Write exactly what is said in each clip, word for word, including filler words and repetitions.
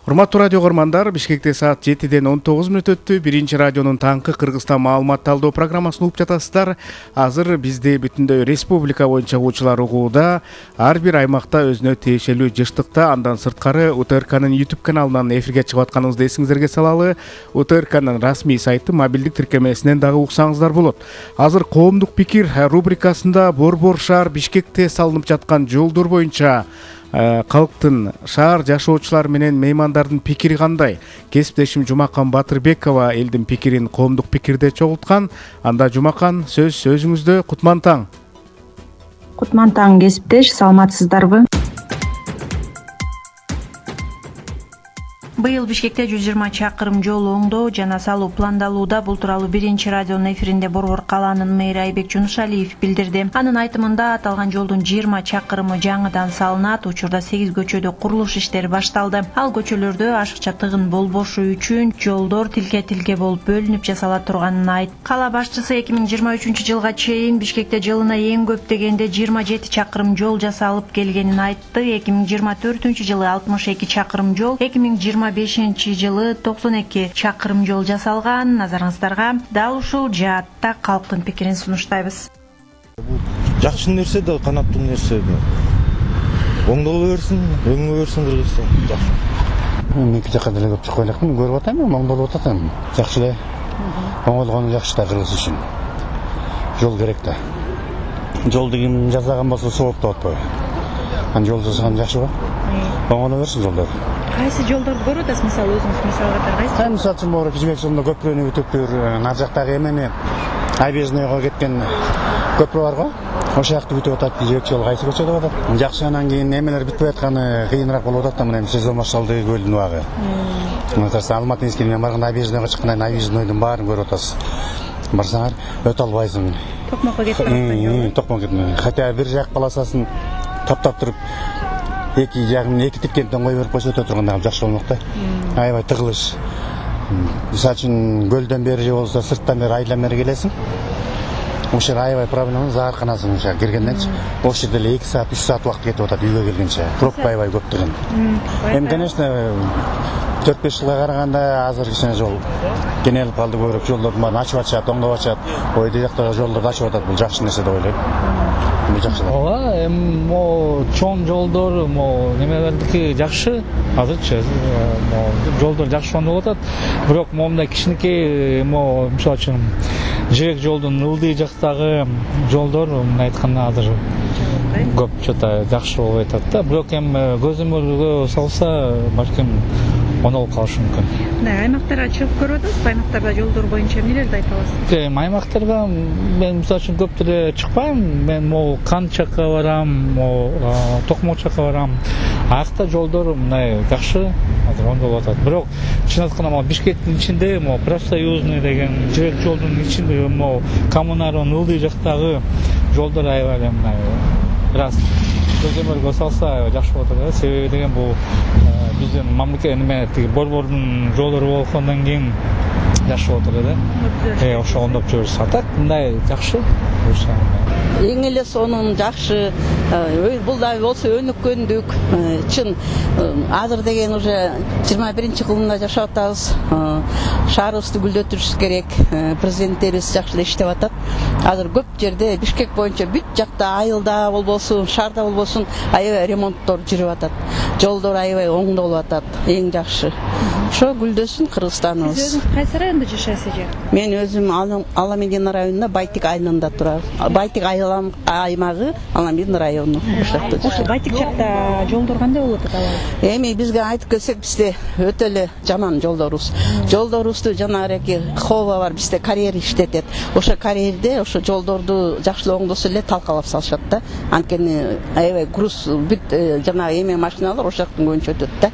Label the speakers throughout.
Speaker 1: Урматтуу радио көрмандар, Бишкекте саат жетиден он тогуз мүнөт өттү. Биринчи радионун таңкы Кыргызстан маалымат талдоо программасын угуп жатасыздар. Азыр бизде бүтүндөй республика боюнча угуучулар угууда. Ар бир аймакта өзүнө тиешелүү жыштыкта, андан сырткары УТРКнын YouTube каналынан эфирге чыгып атканыбызды эсиңиздерге салалы. УТРКнын расмий сайты мобилдик тиркемесинен дагы уксаңыздар болот. Азыр коомдук пикир рубрикасында Борбор шаар Бишкекте салынып жаткан жолдор боюнча калктын, шаар жашоочулар менен меймандардын пикири кандай? Кесиптешим Жумакан Батырбекова элдин пикирин коомдук пикирде чогулткан. Анда Жумакан, сөз сөзүңүздө. Кутман таң.
Speaker 2: Кутман таң кесиптеш, саламатсыздарбы?
Speaker 3: Быйыл Бишкекте жүз жыйырма чакырым жол оңдоо жана салуу пландалууда. Бул тууралуу биринчи радионун эфиринде Борбор калаанын мэри Айбек Жунушалиев билдирди. Анын айтымында аталган жолдун жыйырма чакырымы жаңыдан салынат. Учурда сегиз көчөдө курулуш иштери башталды. Ал көчөлөрдө ашыкча тыгын болбошу үчүн жолдор тилке-тилке болуп бөлүнүп жасала турганын айтты. Кала башчысы эки миң жыйырма үчүнчү жылга чейин Бишкекте жылына эң көп дегенде жыйырма жети чакырым жол жасалып келгенин айтты. эки миң жыйырма төртүнчү жылы алтымыш эки чакырым жол, эки миң жыйырма бешинчи жылы токсон эки чакырым жол жасалган. Назарыңыздарга дал ушул жаатта калктын пикирин сунуштайбыз.
Speaker 4: Бул жакшы нерсе да, канаттуу нерсе да. Оңдоло берсин, өңгө берсин Кыргызстан. Жакшы.
Speaker 5: Мен эки жакка деле көп чыкпай электим, көрүп атам, оңдолуп атам. Жакшы эле. Оңолгону жакшы да Кыргыз үчүн. Жол керек да. Жол деген жасаган болсо сооп да атпайбы. Ан жол жасаган жакшы го. Оңоло берсин жолдор.
Speaker 3: Кайсы жолдорду көрүп атасыз, мисалы өзүңүз мисал катары кайсы?
Speaker 5: Мисалы үчүн могу Жибек жолунда көпүрөнү бүтүптүр, нар жактагы эмени Айбежныйга кеткен көпүрө бар го. Ошол жакты бүтүп атат. Жибек жолу кайсы көчө деп атат? Жакшы, анан кийин эмелер бүтпөй атканы кыйыныраак болуп атат да, мына сезон башталды, көлдүн убагы. Мына Алматы мискине барганда Айбежныйга чыккандан Айбежнойдун баарын көрүп атасыз. Барсаңар өтө албайсың.
Speaker 3: Токмокко кетип атасың.
Speaker 5: Токмок кетип. Хотя бир жак полосасын таптап туруп эки жагын эки типкенден кой берип койсо өтө турганда жакшы болмок да. Аябай тыгылыш. Мисалы үчүн көлдөн бери же болсо сырттан бери айдан бери келесиң. Ошол аябай проблема, заарканасың ошо киргенденчи. Ошол жерде эле эки саат, үч саат убакыт кетип атат үйгө келгенче. Пробка аябай көп деген. Эми конечно төрт беш жылга караганда азыр кичине жол кенелип калды, көбүрөөк жолдорду баарын ачып атышат, оңдоп атышат. Ой, дияктагы жолдорду ачып атат. Бул жакшы нерсе деп ойлойм.
Speaker 6: Ооба, эми могу чоң жолдор, могу немелердики жакшы. Азырчы могу жолдор жакшы оңдолуп атат. Бирок момундай кичинекей могу мисалы үчүн Жибек жолдун ылдый жактагы жолдор мындай айтканда азыр көп чота жакшы болбой атат да. Бирок эми көзөмөлгө салса балким оңдолуп калышы мүмкүн.
Speaker 3: Мындай аймактарга чыгып көрүп атасызбы? Аймактарда жолдор боюнча эмнелерди айта аласыз?
Speaker 6: Эми аймактарга мен мисалы үчүн көп деле чыкпайм. Мен могу Кан жакка барам, могу Токмок жакка барам. Аякта жолдор мындай жакшы азыр оңдолуп атат. Бирок чын айтканда могу Бишкектин ичинде могу профсоюзный деген Жибек жолдун ичинде могу коммунардын ылдый жактагы жолдор аябай эле мындай раз көзөмөлгө салса аябай жакшы болот да. Себеби деген бул биздин мамлекет неме тиги Борбордун жолдору болгондон кийин жакшы болот эле да. Э, ошо оңдоп жүрүш атат. Мындай жакшы.
Speaker 7: Эң эле сонун жакшы. Бул да болсо өнүккөндүк. Чын азыр деген уже жыйырма биринчи кылымда жашап атабыз. Шаарыбызды гүлдөтүрүш керек. Президенттерибиз жакшы эле иштеп атат. Азыр көп жерде Бишкек боюнча бүт жакта айылда болбосун, шаарда болбосун аябай ремонттор жүрүп атат. Жолдор аябай оңдолуп атат. Эң жакшы. Ошо гүлдөсүн Кыргызстаныбыз.
Speaker 3: Сиз өзүңүз кайсы районда жашайсыз же?
Speaker 7: Мен өзүм Аламедин районунда Байтик айылында турам. Байтик айыл аймагы Аламедин району.
Speaker 3: Ошо Байтик жакта жолдор кандай болуп атат алар?
Speaker 7: Эми бизге айтып келсек, бизде өтө эле жаман жолдорубуз. Жолдорубузду жанагы хова бар, бизде карьер иштетет. Ошо карьерде ошо жолдорду жакшылап оңдосо эле талкалап салышат да. Анткени аябай груз бүт жанагы эме машиналар ошол жактан көбүнчө өтөт да.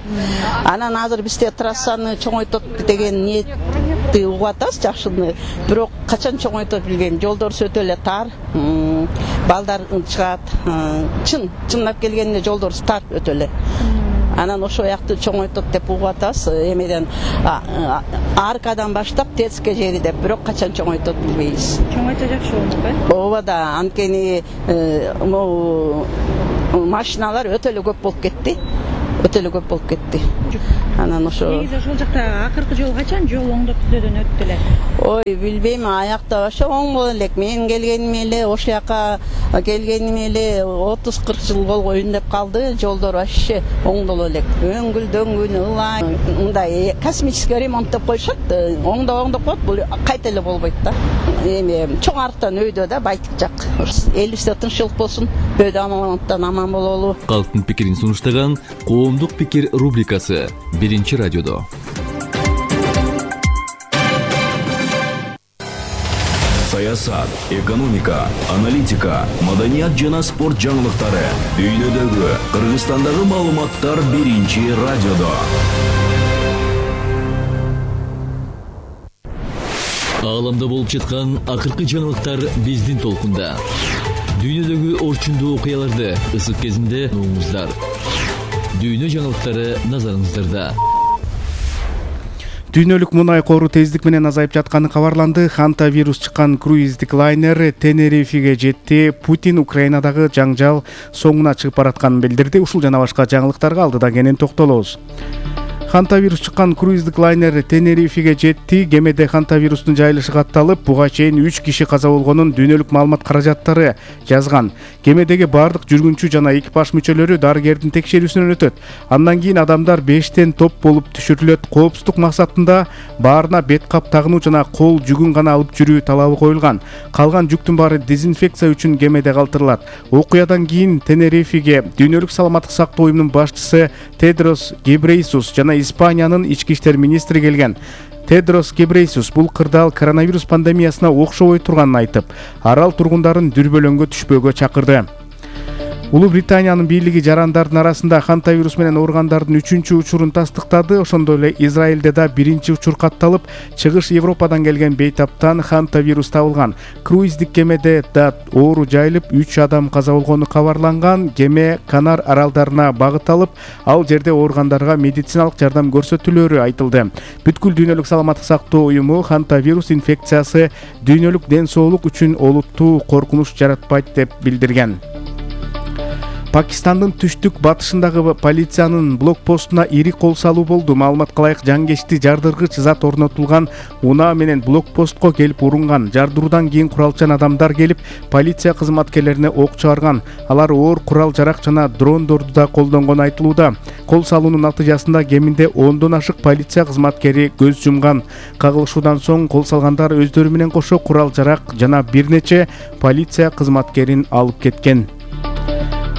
Speaker 7: Анан азыр бизде трассаны чоңойтот деген ниетти угуп атабыз, жакшыны. Бирок качан чоңойтот билбейм. Жолдор өтө эле тар, балдар чыгат. Чын, чынлап келгенде жолдор тар өтө эле. Анан ошол якты чоңойтот деп угуп атабыз. Эмеден аркадан баштап Тецке жери деп, бирок качан чоңойтот билбейбиз.
Speaker 3: Чоңойто жакшы болмок э?
Speaker 7: Ооба да, анткени могу машиналар өтө эле көп болуп кетти. Өтө эле көп болуп кетти. Анан ошо
Speaker 3: негизи ошол жакта акыркы жолу качан жол оңдоп түзөөдөн өттү эле?
Speaker 7: Ой, билбейм, аякта ошо оңдо элек. Мен келгеним эле, ошол жака келгеним эле отуз кырк жыл болбойн деп калды. Жолдор вообще оңдоло элек. Өңгүл дөңгүн ылай, мындай космический ремонт деп коюшат. Оңдоп оңдоп коет, бул кайта эле болбойт да. Эми чоң арыктан өйдө да, Байтык жак. Элибизде тынччылык болсун, бөөдө амалаттан аман бололу.
Speaker 8: Калктын пикирин сунуштаган Коомдук пикир рубрикасы биринчи радиодо.
Speaker 9: Саясат, экономика, аналитика, маданият жана спорт жаңылыктары, дүйнөдөгү, Кыргызстандагы маалыматтар биринчи радиодо.
Speaker 8: Ааламда болуп жаткан акыркы жаңылыктар биздин толкунда. Дүйнөдөгү орчундуу окуяларды ысык кезинде угуңуздар. Дүйнө жаңылыктары назарыңыздарда.
Speaker 1: Дүйнөлүк мунай кору тездик менен азайып жатканы кабарланды. Ханта вирус чыккан круиздик лайнер Тенерифеге жетти. Путин Украинадагы жаңжал соңуна чыгып баратканын билдирди. Ушул жана башка жаңылыктарга алдыда кенен токтолобуз. Ханта вирус чыккан круиздик лайнер Тенерифеге жетти. Кемеде ханта вирустун жайылышы катталып, буга чейин үч киши каза болгонун дүйнөлүк маалымат каражаттары жазган. Кемедеги бардык жүргүнчү жана экипаж мүчөлөрү дарыгердин текшерүүсүнөн өтөт. Андан кийин адамдар бештен топ болуп түшүрүлөт. Коопсуздук максатында баарына бет кап тагынуу жана кол жүгүн гана алып жүрүү талабы коюлган. Калган жүктүн баары дезинфекция үчүн кемеде калтырылат. Окуядан кийин Тенерифеге дүйнөлүк саламаттык сактоо уюмунун башчысы Тедрос Гебрейсус жана Испаниянын ички иштер министри келген. Тедрос Гебрейсус бул кырдаал коронавирус пандемиясына окшобой турганын айтып, арал тургундарын дүрбөлөңгө түшпөөгө чакырды. Улуу Британиянын бийлиги жарандардын арасында ханта вирус менен ооругандардын үчүнчү учурун тастыктады. Ошондой эле Израилде да биринчи учур катталып, чыгыш Европадан келген бейтаптан ханта вирус табылган. Круиздик кемеде да оору жайылып, үч адам каза болгону кабарланган. Кеме Канар аралдарына багыт алып, ал жерде ооругандарга медициналык жардам көрсөтүлөөрү айтылды. Бүткүл дүйнөлүк саламаттык сактоо уюму ханта вирус инфекциясы дүйнөлүк ден соолук үчүн олуттуу коркунуч жаратпайт деп билдирген. Пакистандын түштүк батышындагы полициянын блокпостуна ири кол салуу болду. Маалыматка ылайык жангечти жардыргыч зат орнотулган унаа менен блокпостко келип урунган. Жардыруудан кийин куралчан адамдар келип, полиция кызматкерлерине ок чыгарган. Алар оор курал жарак жана дрондорду да колдонгону айтылууда. Кол салуунун натыйжасында кеминде ондон ашык полиция кызматкери көз жумган. Кагылышуудан соң кол салгандар өздөрү менен кошо курал жарак жана бир нече полиция кызматкерин алып кеткен.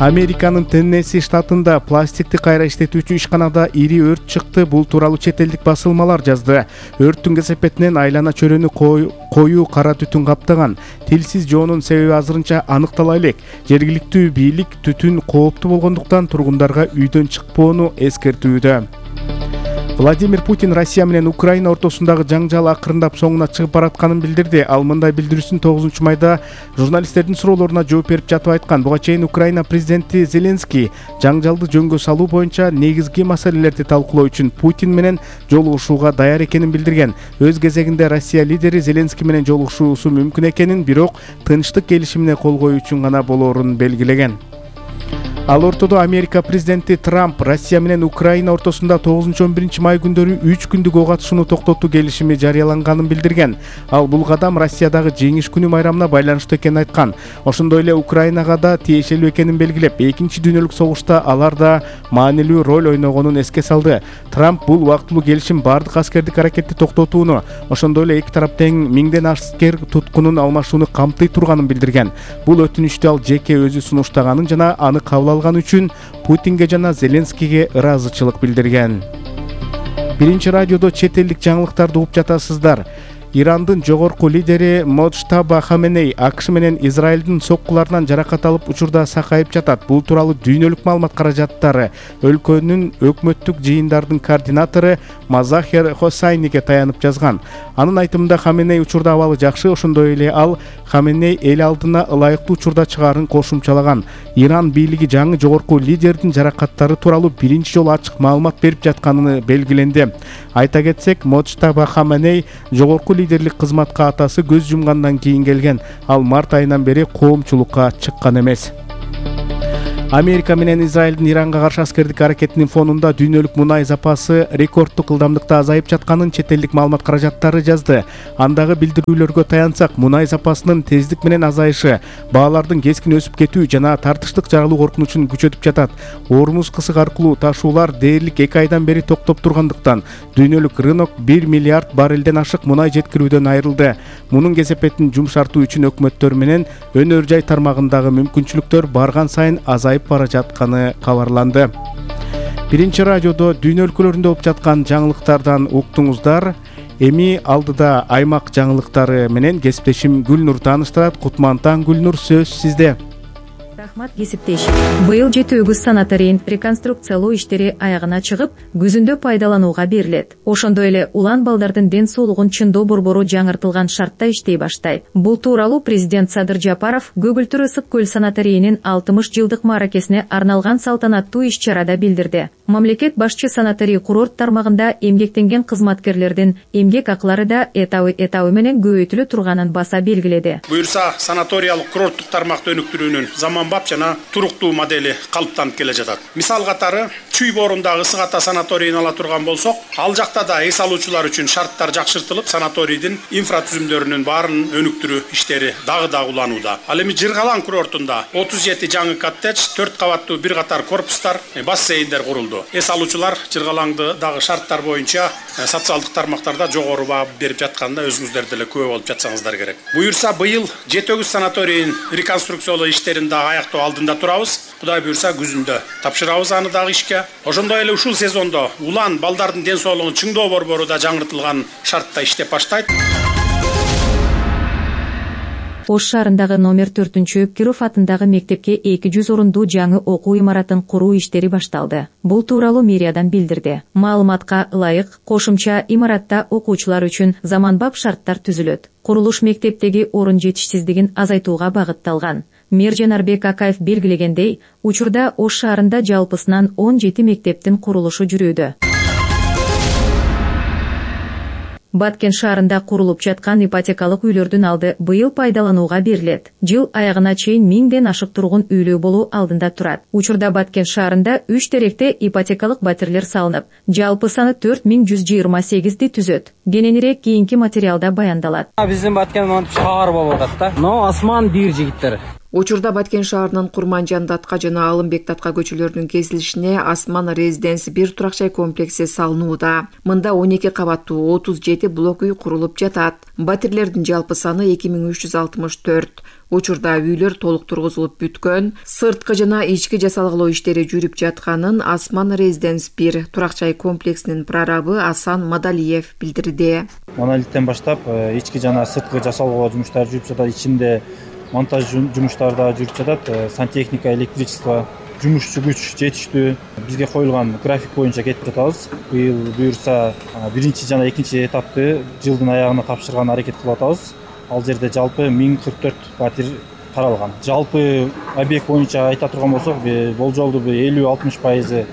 Speaker 1: Американын Теннесси штатында пластикти кайра иштетүүчү ишканада ири өрт чыкты. Бул тууралуу чет элдик басылмалар жазды. Өрттүн кесепетинен айлана чөрөнү коюу кара түтүн каптаган. Тилсиз жоонун себеби азырынча аныктала элек. Жергиликтүү бийлик түтүн кооптуу болгондуктан тургундарга үйдөн чыкпоону эскертүүдө. Владимир Путин Россия менен Украина ортосундагы жаңжал акырындап соңуна чыгып баратканын билдирди. Ал мындай билдирүүсүн тогузунчу майда журналисттердин суроолоруна жооп берип жатып айткан. Буга чейин Украина президенти Зеленский жаңжалды жөнгө салуу боюнча негизги маселелерди талкуулоо үчүн Путин менен жолугушууга даяр экенин билдирген. Өз кезегинде Россия лидери Зеленский менен жолугушуусу мүмкүн экенин, бирок тынчтык келишимине кол коюу үчүн гана болоорун белгилеген. Ал ортодо Америка президенти Трамп Россия менен Украина ортосунда тогузунчу он биринчи май күндөрү үч күндүк ок атышууну токтотуу келишими жарыяланганын билдирген. Ал бул кадам Россиядагы жеңиш күнү майрамына байланыштуу экенин айткан. Ошондой эле Украинага да тиешелүү экенин белгилеп, экинчи дүйнөлүк согушта алар да маанилүү роль ойногонун эске салды. Трамп бул убактылуу келишим бардык аскердик аракетти токтотууну, ошондой эле эки тарап тең миңден аскер туткунун алмашууну камтый турганын билдирген. Бул өтүнүчтү ал жеке өзү сунуштаганын жана аны кабыл алган үчүн Путинге жана Зеленскийге ыраазычылык билдирген. Биринчи радиодо чет элдик жаңылыктарды угуп жатасыздар. Ирандын жогорку лидери Моджтаба Хаменей АКШ менен Израилдин соккуларынан жаракат алып учурда сакайып жатат. Бул тууралуу дүйнөлүк маалымат каражаттары өлкөнүн өкмөттүк жыйындардын координатору Мазахер Хосайниге таянып жазган. Анын айтымында Хаменей учурда абалы жакшы, ошондой эле ал Хаменей эл алдына ылайыктуу учурда чыгаарын кошумчалаган. Иран бийлиги жаңы жогорку лидердин жаракаттары тууралуу биринчи жолу ачык маалымат берип жатканын белгиленди. Айта кетсек, Моджтаба Хаменей жогорку лидерлик кызматка атасы көз жумгандан кийин келген. Ал март айынан бери коомчулукка чыккан эмес. Америка менен Израилдин Иранга каршы аскердик аракетинин фонунда дүйнөлүк мунай запасы рекорддук ылдамдыкта азайып жатканын чет элдик маалымат каражаттары жазды. Андагы билдирүүлөргө таянсак, мунай запасынын тездик менен азайышы баалардын кескин өсүп кетүү жана тартыштык жарылуу коркунучун күчөтүп жатат. Ормуз кысык аркылуу ташуулар дээрлик эки айдан бери токтоп тургандыктан дүйнөлүк рынок бир миллиард баррелден ашык мунай жеткирүүдөн айрылды. Мунун кесепетин жумшартуу үчүн өкмөттөр менен өнөр жай тармагындагы мүмкүнчүлүктөр барган сайын азайып бара жатканы кабарланды. Биринчи радиодо дүйнө өлкөлөрүндө болуп жаткан жаңылыктардан уктуңуздар. Эми алдыда аймак жаңылыктары менен кесиптешим Гүлнур тааныштырат. Кутман таң, Гүлнур, сөз сизде.
Speaker 10: Рахмат, кесиптеш. Быйыл жети өгүз санаторийин реконструкциялоо иштери аягына чыгып, күзүндө пайдаланууга берилет. Ошондой эле улан балдардын ден соолугун чыңдоо борбору жаңыртылган шартта иштей баштайт. Бул тууралуу президент Садыр Жапаров Көгүлтүр ысык көл санаторийинин алтымыш жылдык мааракесине арналган салтанаттуу иш-чарада билдирди. Мамлекет башчы санаторий курорт тармагында эмгектенген кызматкерлердин эмгек акылары да этабы этабы менен көбөйтүлө турганын баса белгиледи.
Speaker 11: Буюрса, санаториялык курорттук тармакты өнүктүрүүнүн заманбап жана туруктуу модели калыптанып келе жатат. Мисал катары Чүй боорундагы Ысык Ата санаторийин ала турган болсок, ал жакта да эс алуучулар үчүн шарттар жакшыртылып, санаторийдин инфратүзүмдөрүнүн баарын өнүктүрүү иштери дагы да уланууда. Ал эми Жыргалаң курортунда отуз жети жаңы коттедж, төрт кабаттуу бир катар корпустар, бассейндер курулду. Эс алуучулар Жыргалаңды дагы шарттар боюнча социалдык тармактарда жогору баа берип жатканда өзүңүздөр деле күбө болуп жатсаңыздар керек. Буюрса, быйыл жети өгүз санаторийин реконструкциялоо иштерин дагы аяктоо алдында турабыз. Кудай буюрса, күзүндө тапшырабыз аны дагы ишке. Ошондой эле ушул сезондо улан балдардын ден соолугун чыңдоо борбору да жаңыртылган шартта иштеп баштайт.
Speaker 10: Ош шаарындагы номер төртүнчү Киров атындагы мектепке эки жүз орундуу жаңы окуу имаратын куруу иштери башталды. Бул тууралуу мэриядан билдирди. Маалыматка ылайык, кошумча имаратта окуучулар үчүн заманбап шарттар түзүлөт. Курулуш мектептеги орун жетишсиздигин азайтууга багытталган. Мэр Жанарбек Акаев белгилегендей, учурда Ош шаарында жалпысынан он жети мектептин курулушу жүрүүдө. Баткен шаарында курулуп жаткан ипотекалык үйлөрдүн алды быйыл пайдаланууга берилет. Жыл аягына чейин миңден ашык тургун үйлүү болуу алдында турат. Учурда Баткен шаарында үч теректе ипотекалык батирлер салынып, жалпы саны төрт миң жүз жыйырма сегизди түзөт. Кененирээк кийинки материалда баяндалат.
Speaker 12: Биздин Баткен монтип шаар болуп атат да. Но асман бир жигиттер.
Speaker 13: Учурда Баткен шаарынын Курманжан Датка жана Алымбек Датка көчөлөрүнүн кесилишине Асман Резиденс бир турак жай комплекси салынууда. Мында он эки кабаттуу отуз жети блок үй курулуп жатат. Батирлердин жалпы саны эки миң үч жүз алтымыш төрт. Учурда үйлөр толук тургузулуп бүткөн, сырткы жана ички жасалгылоо иштери жүрүп жатканын Асман Резиденс бир турак жай комплексинин прорабы Асан Мадалиев билдирди.
Speaker 14: Монолиттен баштап ички жана сырткы жасалгылоо жумуштары жүрүп жатат. Ичинде монтаж жумуштары да жүрүп жатат. Сантехника, электричество, жумушчу күч жетиштүү. Бизге коюлган график боюнча кетип жатабыз. Быйыл буюрса биринчи жана экинчи этапты жылдын аягына тапшырган аракет кылып атабыз. Ал жерде жалпы миң кырк төрт батир каралган. Жалпы объект боюнча айта турган болсок, болжолду элүү алтымыш пайызы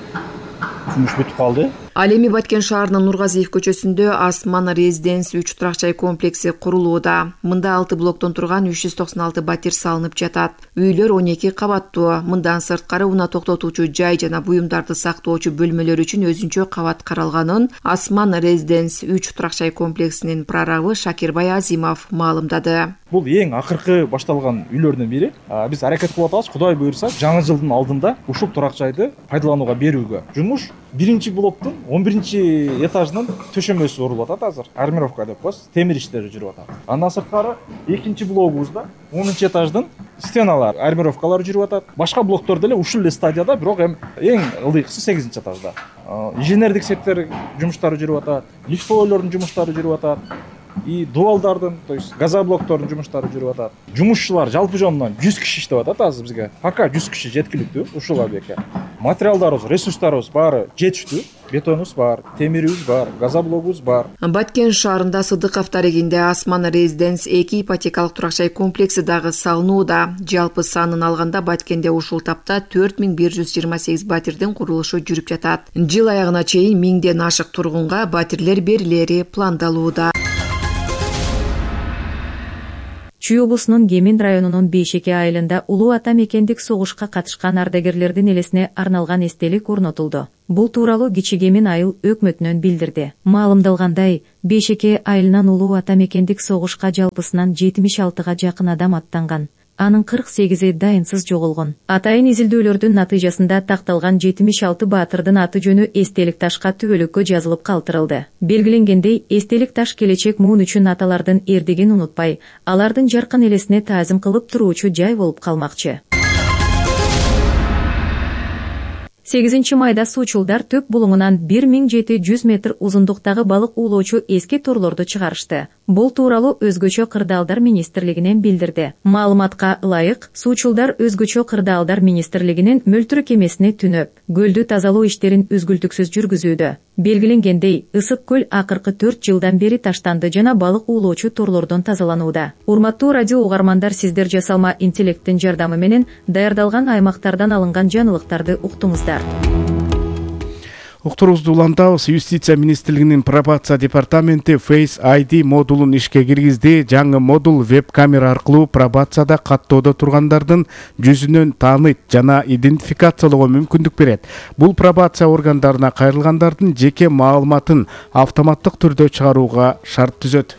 Speaker 14: жумуш бүтүп калды.
Speaker 13: Ал эми Баткен шаарынын Нургазиев көчөсүндө Асман Резиденс үч турак жай комплекси курулууда. Мында алты блоктон турган үч жүз токсон алты батир салынып жатат. Үйлөр он эки кабаттуу. Мындан сырткары унаа токтотуучу жай жана буюмдарды сактоочу бөлмөлөр үчүн өзүнчө кабат каралганын Асман Резиденс үч турак жай комплексинин прорабы Шакирбай Азимов маалымдады.
Speaker 14: Бул эң акыркы башталган үйлөрдүн бири. Биз аракет кылып атабыз, Кудай буйрса, жаңы жылдын алдында ушул турак жайды пайдаланууга берүүгө. Жумуш биринчи блоктун он биринчи этажынын төшөмөсү урулуп атат азыр. Армировка деп коебуз, темир иштери жүрүп атат. Андан сырткары экинчи блогубузда онунчу этаждын стеналар, армировкалары жүрүп атат. Башка блоктор деле ушул эле стадияда, бирок эң ылдыйкысы сегизинчи этажда. Инженердик сектор жумуштары жүрүп атат, лифтовойлордун жумуштары жүрүп атат. И дуалдардын, то есть газоблоктордун жумуштары жүрүп атат. Жумушчулар жалпы жонунан жүз киши иштеп атат азыр бизге. Пока жүз киши жеткиликтүү ушул объектке. Материалдарыбыз, ресурстарыбыз баары жетиштүү. Бетонубуз бар, темирибиз бар, газоблогубуз бар.
Speaker 13: Баткен шаарында Сыдыков тарегинде Асман Резиденс эки ипотекалык турак жай комплекси дагы салынууда. Жалпы санын алганда Баткенде ушул тапта төрт миң бир жүз жыйырма сегиз батирдин курулушу жүрүп жатат. Жыл аягына чейин миңден ашык тургунга батирлер берилери пландалууда.
Speaker 10: Чүй облусунун Кемин районунун Бейшеке айылында улуу ата мекендик согушка катышкан ардагерлердин элесине арналган эстелик орнотулду. Бул тууралуу Кичи Кемин айыл өкмөтүнөн билдирди. Маалымдалгандай, Бейшеке айылынан улуу ата мекендик согушка жалпысынан жетимиш алтыга жакын адам аттанган. Анын кырк сегизи дайынсыз жоголгон. Атайын изилдөөлөрдүн натыйжасында такталган жетимиш алты баатырдын аты жөнү эстелик ташка түбөлүккө жазылып калтырылды. Белгиленгендей, эстелик таш келечек муун үчүн аталардын эрдигин унутпай, алардын жаркын элесине таазим кылып туруучу жай болуп калмакчы. сегизинчи майда суучулдар төп булуңунан бир миң жети жүз метр узундуктагы балык уулоочу эски торлорду чыгарышты. Бул тууралуу өзгөчө кырдаалдар министрлигинен билдирди. Маалыматка ылайык, суучулдар өзгөчө кырдаалдар министрлигинин мөлтүрө кемесине түнөп, көлдү тазалоо иштерин үзгүлтүксүз жүргүзүүдө. Белгиленгендей, Ысык көл акыркы төрт жылдан бери таштанды жана балык уулоочу торлордон тазаланууда. Урматтуу радио угармандар, сиздер жасалма интеллекттин жардамы менен даярдалган аймактардан алынган жаңылыктарды уктуңуздар.
Speaker 1: Уктурубузду улантабыз. Юстиция министрлигинин пробация департаменти Face ай ди модулун ишке киргизди. Жаңы модул веб-камера аркылуу пробацияда каттоодо тургандардын жүзүнөн тааныйт жана идентификациялоого мүмкүндүк берет. Бул пробация органдарына кайрылгандардын жеке маалыматын автоматтык түрдө чыгарууга шарт түзөт.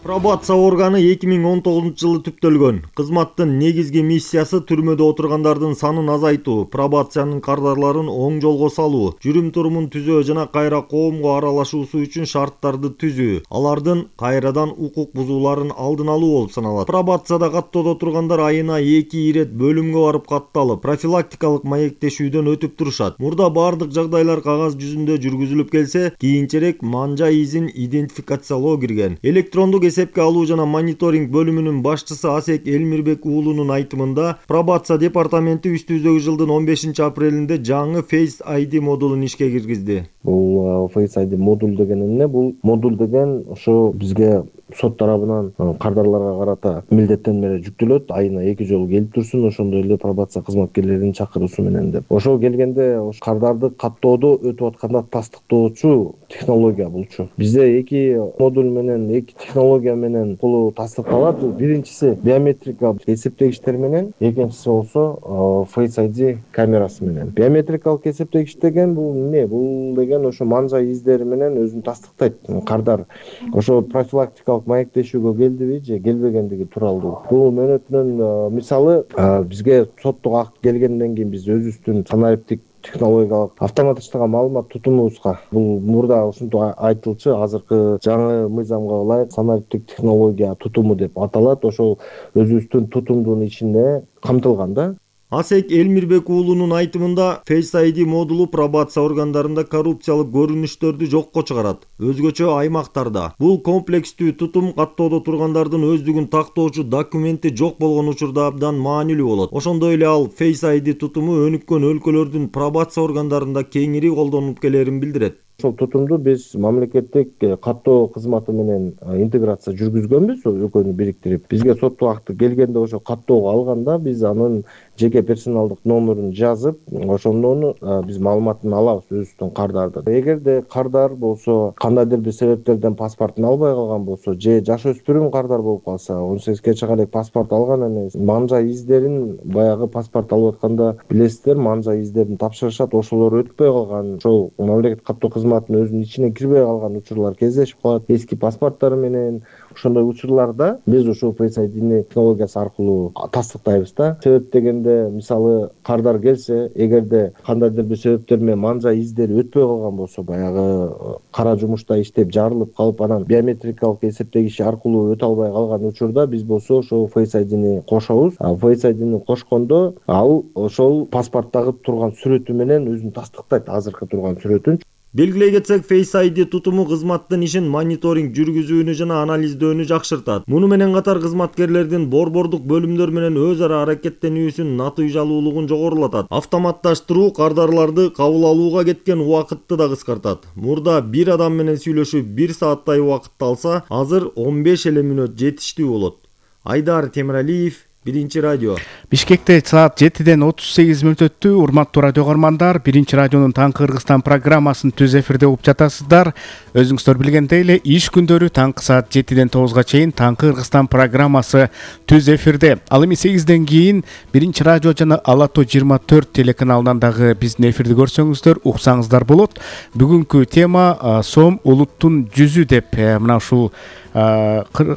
Speaker 15: Пробация органы эки миң он тогузунчу жылы түптөлгөн. Кызматтын негизги миссиясы түрмөдө отургандардын санын азайтуу, пробациянын кардарларын оң жолго салуу, жүрүм-турумун түзөө жана кайра коомго аралашуусу үчүн шарттарды түзүү, алардын кайрадан укук бузууларын алдын алуу болуп саналат. Пробацияда каттоодо тургандар айына эки ирет бөлүмгө барып катталып, профилактикалык маектешүүдөн өтүп турушат. Мурда бардык жагдайлар кагаз жүзүндө жүргүзүлүп келсе, кийинчерээк манжа изин идентификациялоо кирген. Электрондук эсепке алуу жана мониторинг бөлүмүнүн башчысы Асек Элмирбек уулунун айтымында, пробация департаменти үстүбүздөгү жылдын он бешинчи апрелинде жаңы Face ай ди модулун ишке киргизди.
Speaker 16: Бул Face ай ди модуль деген эмне? Бул модуль деген ошо бизге сот тарабынан кардарларга карата милдеттенмелер жүктөлөт, айына эки жолу келип турсун, ошондой эле пробация кызматкерлеринин чакыруусу менен деп. Ошо келгенде ош кардарды каттоодо өтүп атканда тастыктоочу технология булчу. Бизде эки модуль менен, эки технология менен колу тастыкталат. Биринчиси биометрикалык эсептегичтер менен, экинчиси болсо Face ай ди камерасы менен. Биометрикалык эсептегич деген бул эмне? Бул деген ошо манжа издери менен өзүн тастыктайт. Кардар ошо профилактикалык маектешүүгө келдиби же келбегендиги тууралуу. Бул мөөнөтүнөн мисалы бизге соттук акт келгенден кийин биз өзүбүздүн санариптик технологиялык автоматташтырган маалымат тутумубузга, бул мурда ушинтип айтылчу, азыркы жаңы мыйзамга ылайык санариптик технология тутуму деп аталат. Ошол өзүбүздүн тутумдун ичинде камтылган да.
Speaker 15: Асек Элмирбек уулунун айтымында, Face ай ди модулу пробация органдарында коррупциялык көрүнүштөрдү жокко чыгарат. Өзгөчө аймактарда бул комплекстүү тутум каттоодо тургандардын өздүгүн тактоочу документи жок болгон учурда абдан маанилүү болот. Ошондой эле ал Face ай ди тутуму өнүккөн өлкөлөрдүн пробация органдарында кеңири колдонулуп келерин билдирет.
Speaker 16: Ошол тутумду биз мамлекеттик каттоо кызматы менен интеграция жүргүзгөнбүз, экөөнү бириктирип. Бизге соттук акты келгенде ошо каттоого алганда биз анын жеке персоналдык номерин жазып, ошондон биз маалыматын алабыз өзүбүздүн кардардын. Эгерде кардар болсо, кандайдыр бир себептерден паспортун албай калган болсо, же жаш өспүрүм кардар болуп калса, он сегизге чейинге чейин паспорт алган эмес, манжа издерин баягы паспорт алып атканда билесиздер, манжа издерин тапшырышат, ошолор өтпөй калган, ошол мамлекеттик каттоо кызматынын өзүнүн ичине кирбей калган учурлар кездешип калат. Эски паспорттор менен ошондой учурларда биз ушул Face ай ди технологиясы аркылуу тастыктайбыз да. Себеп дегенде, мисалы кардар келсе, эгерде кандайдыр бир себептер менен манжа издери өтпөй калган болсо, баягы кара жумушта иштеп жарылып калып, анан биометрикалык эсептегич аркылуу өтө албай калган учурда биз болсо ошол Face ай дини кошобуз. А Face ай дини кошкондо ал ошол паспорттагы турган сүрөтү менен өзүн тастыктайт, азыркы турган сүрөтүн.
Speaker 15: Белгилей кетсек, Face ай ди тутуму кызматтын ишин мониторинг жүргүзүүнү жана анализдөөнү жакшыртат. Муну менен катар кызматкерлердин борбордук бөлүмдөр менен өз ара аракеттенүүсүн натыйжалуулугун жогорулатат. Автоматташтыруу кардарларды кабыл алууга кеткен убакытты да кыскартат. Мурда бир адам менен сүйлөшүп бир сааттай убакытты алса, азыр он беш эле мүнөт жетиштүү болот. Айдар Темиралиев, биринчи радио.
Speaker 1: Бишкекте саат жетиден отуз сегиз мүнөт өттү. Урматтуу радио көрөрмандар, биринчи радионун Таңкы Кыргызстан программасын түз эфирде угуп жатасыздар. Өзүңүздөр билгендей эле иш күндөрү таңкы саат жетиден тогузга чейин Таңкы Кыргызстан программасы түз эфирде. Ал эми сегизден кийин биринчи радио жана Ала тоо жыйырма төрт телеканалынан дагы биздин эфирди көрсөңүздөр, уксаңыздар болот. Бүгүнкү тема сом улуттун жүзү деп мына ушул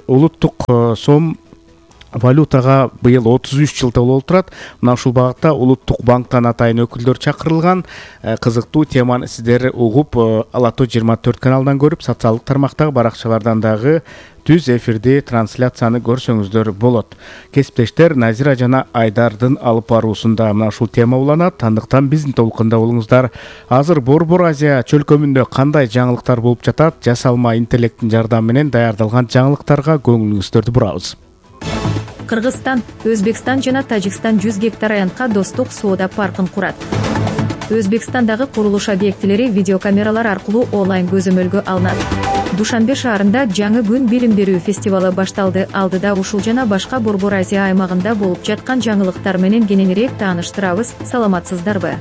Speaker 1: улуттук сом валютага быйыл отуз үч жыл толуп турат. Мына ушул багытта улуттук банктан атайын өкүлдөр чакырылган. Кызыктуу теманы сиздер угуп, Ала тоо жыйырма төрт каналынан көрүп, социалдык тармактагы баракчалардан дагы түз эфирде трансляцияны көрсөңүздөр болот. Кесиптештер Назира жана Айдардын алып баруусунда мына ушул тема уланат. Андыктан биздин толкунда болуңуздар. Азыр Борбор Азия чөлкөмүндө кандай жаңылыктар болуп жатат? Жасалма интеллекттин жардамы менен даярдалган жаңылыктарга көңүлүңүздөрдү бурабыз.
Speaker 10: Кыргызстан, Өзбекстан жана Тажикстан жүз гектар аянтка достук соода паркын курат. Өзбекстандагы курулуш объектилери видеокамералар аркылуу онлайн көзөмөлгө алынат. Душанбе шаарында жаңы күн билим берүү фестивалы башталды. Алдыда ушул жана башка Борбор Азия аймагында болуп жаткан жаңылыктар менен кененирээк тааныштырабыз. Саламатсыздарбы?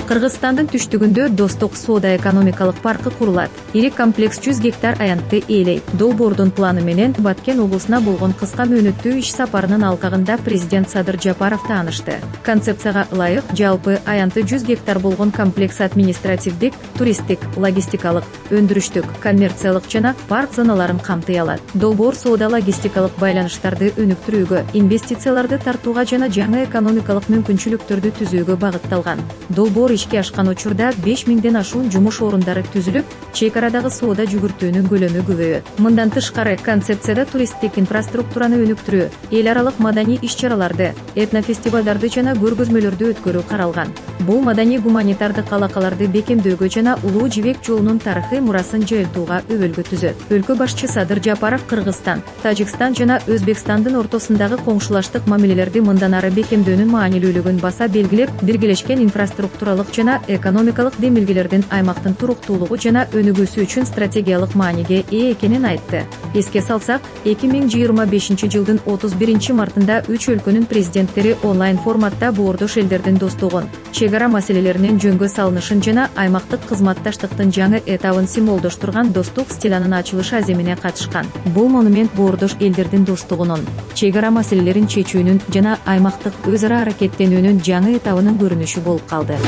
Speaker 10: Кыргызстандын түштүгүндө достук соода экономикалык паркы курулат. Ири комплекс жүз гектар аянтты ээлейт. Долбоордун планы менен Баткен облусуна болгон кыска мөөнөттүү иш сапарынын алкагында президент Садыр Жапаров таанышты. Концепцияга ылайык жалпы аянты жүз гектар болгон комплекс административдик, туристтик, логистикалык, өндүрүштүк, коммерциялык жана парк зоналарын камтый алат. Долбоор соода логистикалык байланыштарды өнүктүрүүгө, инвестицияларды тартууга жана жаңы экономикалык мүмкүнчүлүктөрдү түзүүгө багытталган. Долбоор ишке ашкан учурда беш миңден ашуун жумуш орундары түзүлүп, чек арадагы соода жүгүртүүнүн көлөмү көбөйөт. Мындан тышкары концепцияда туристтик инфраструктураны өнүктүрүү, эл аралык маданий иш-чараларды, этнофестивалдарды жана көргөзмөлөрдү өткөрүү каралган. Бул маданий гуманитардык алакаларды бекемдөөгө жана Улуу Жибек жолунун тарыхый мурасын жайылтууга өбөлгө түзөт. Өлкө башчы Садыр Жапаров Кыргызстан, Тажикстан жана Өзбекстандын ортосундагы коңшулаштык мамилелерди мындан ары бекемдөөнүн маанилүүлүгүн баса белгилеп, биргелешкен инфраструктуралык жана экономикалык демилгелердин аймактын туруктуулугу жана өнүгүүсү үчүн стратегиялык мааниге ээ экенин айтты. Эске салсак, эки миң жыйырма бешинчи жылдын отуз биринчи мартында үч өлкөнүн президенттери онлайн форматта боордош элдердин достугун, чек ара маселелеринин жөнгө салынышын жана аймактык кызматташтыктын жаңы этабын символдоштурган достук стилянын ачылыш аземине катышкан. Бул монумент боордош элдердин достугунун, чек ара маселелерин чечүүнүн жана аймактык өз ара аракеттенүүнүн жаңы этабынын көрүнүшү болуп калды.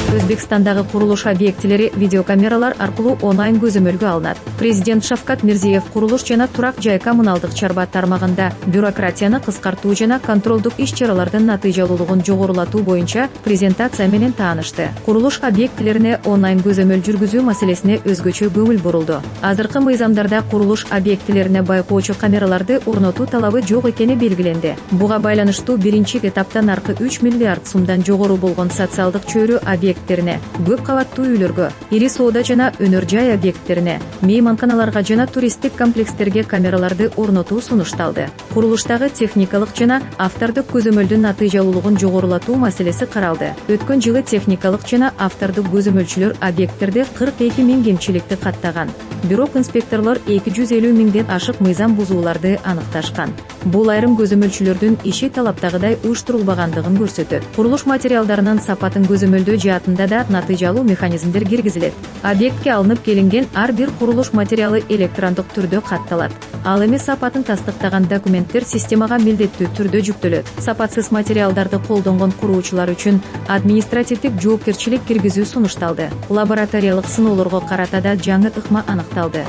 Speaker 10: Өзбекстандагы курулуш объектилери видеокамералар аркылуу онлайн көзөмөлгө алынат. Президент Шавкат Мирзиев курулуш жана турак жай коммуналдык чарба тармагында бюрократияны кыскартуу жана контролдук иш-чаралардын натыйжалуулугун жогорулатуу боюнча презентация менен таанышты. Курулуш объектилерине онлайн көзөмөл жүргүзүү маселесине өзгөчө көңүл бурулду. Азыркы мыйзамдарда курулуш объектилерине байкоочу камераларды орнотуу талабы жок экени белгиленди. Буга байланыштуу биринчи этапта наркы үч миллиард сумдан жогору болгон социалдык чөйрө объект көп кабаттуу үйлөргө, ири соода жана өнөр жай объекттерине, мейманканаларга жана туристтик комплекстерге камераларды орнотуу сунушталды. Курулуштагы техникалык жана автордук көзөмөлдүн натыйжалуулугун жогорулатуу маселеси каралды. Өткөн жылы техникалык жана автордук көзөмөлчүлөр объекттерде кырк эки миң кемчиликти каттаган. Бирок инспекторлор эки жүз элүү миңден ашык мыйзам бузууларды аныкташкан. Бул айрым көзөмөлчүлөрдүн иши талаптагыдай уюштурулбагандыгын көрсөтөт. Курулуш материалдарынын сапатын көзөмөлдөө жаатында да натыйжалуу механизмдер киргизилет. Объектке алынып келинген ар бир курулуш материалы электрондук түрдө катталат. Ал эми сапатын тастыктаган документтер системага милдеттүү түрдө жүктөлөт. Сапатсыз материалдарды колдонгон куруучулар үчүн административдик жоопкерчилик киргизүү сунушталды. Лабораториялык сыноолорго карата да жаңы ыкма аныкталды.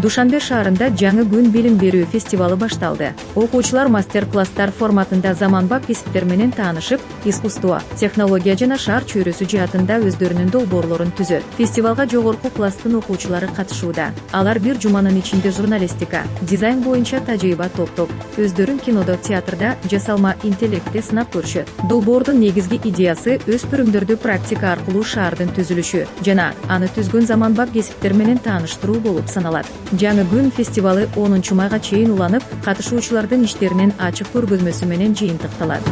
Speaker 10: Душанбе шаарында жаңы күн билим берүү фестивалы башталды. Окуучулар мастер-класстар форматында заманбап кесиптер менен таанышып, искусство, технология жана шаар чөйрөсү жаатында өздөрүнүн долбоорлорун түзөт. Фестивалга жогорку класстын окуучулары катышууда. Алар бир жуманын ичинде журналистика, дизайн боюнча тажрыйба топтоп, өздөрүн кинодо, театрда жасалма интеллектти сынап көрүшөт. Долбоордун негизги идеясы өспүрүмдөрдү практика аркылуу шаардын түзүлүшү жана аны түзгөн заманбап кесиптер менен тааныштыруу болуп саналат. Жаңы күн фестивалы онунчу майга чейин уланып, катышуучулардын иштеринин ачык көргөзмөсү менен жыйынтыкталат.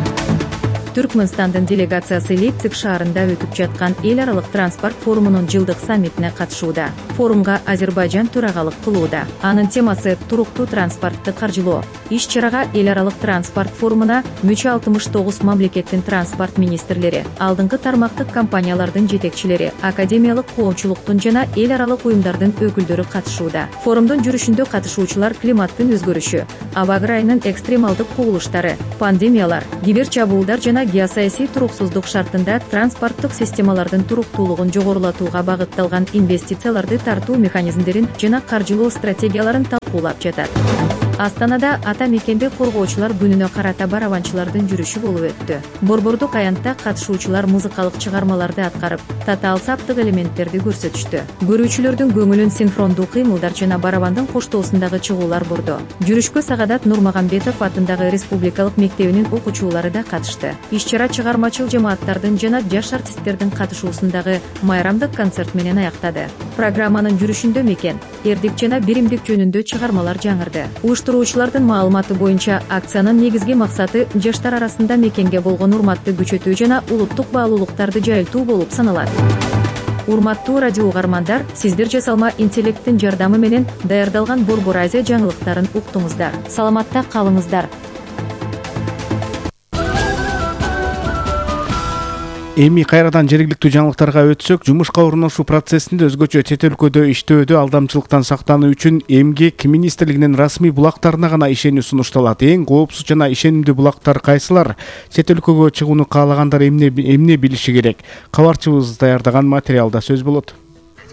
Speaker 10: Түркмөнстандын делегациясы Лейпциг шаарында өтүп жаткан эл аралык транспорт форумунун жылдык саммитине катышууда. Форумга Азербайжан төрагалык кылууда. Анын темасы туруктуу транспортты каржылоо. Иш-чарага эл аралык транспорт форумуна мүчө алтымыш тогуз мамлекеттин транспорт министрлери, алдыңкы тармактык компаниялардын жетекчилери, академиялык коомчулуктун жана эл аралык уюмдардын өкүлдөрү катышууда. Форумдун жүрүшүндө катышуучулар климаттын өзгөрүшү, аба ырайынын экстремалдык кубулуштары, пандемиялар, кибер чабуулдар жана геосаясий туруксуздук шартында транспорттук системалардын туруктуулугун жогорулатууга багытталган инвестицияларды тартуу механизмдерин жана каржылоо стратегияларын талкуулап жатат. Астанада ата мекенди коргоочулар күнүнө карата барабанчылардын жүрүшү болуп өттү. Борбордук аянтта катышуучулар музыкалык чыгармаларды аткарып, татаал саптык элементтерди көрсөтүштү. Көрүүчүлөрдүн көңүлүн синхрондуу кыймылдар жана барабандын коштоосундагы чыгуулар бурду. Жүрүшкө Сагадат Нурмагамбетов атындагы Республикалык мектебинин окуучулары да катышты. Иш-чара чыгармачыл жамааттардын жана жаш артисттердин катышуусундагы майрамдык концерт менен аяктады. Программанын жүрүшүндө мекен, эрдик жана биримдик жөнүндө чыгармалар жаңырды. Уюштуруучулардын маалыматы боюнча акциянын негизги максаты жаштар арасында мекенге болгон урматты күчөтүү жана улуттук баалуулуктарды жайылтуу болуп саналат. Урматтуу радио угармандар, сиздер жасалма интеллекттин жардамы менен даярдалган Борбор Азия жаңылыктарын уктуңуздар. Саламатта калыңыздар.
Speaker 1: Эми кайрадан жергиликтүү жаңылыктарга өтсөк, жумушка орношуу процессинде өзгөчө чет өлкөдө иштөөдө алдамчылыктан сактануу үчүн Эмгек министрлигинин расмий булактарына гана ишенүү сунушталат. Эң коопсуз жана ишенимдүү булактар кайсылар? Чет өлкөгө чыгууну каалагандар эмне эмне билиши керек? Кабарчыбыз даярдаган материалда сөз болот.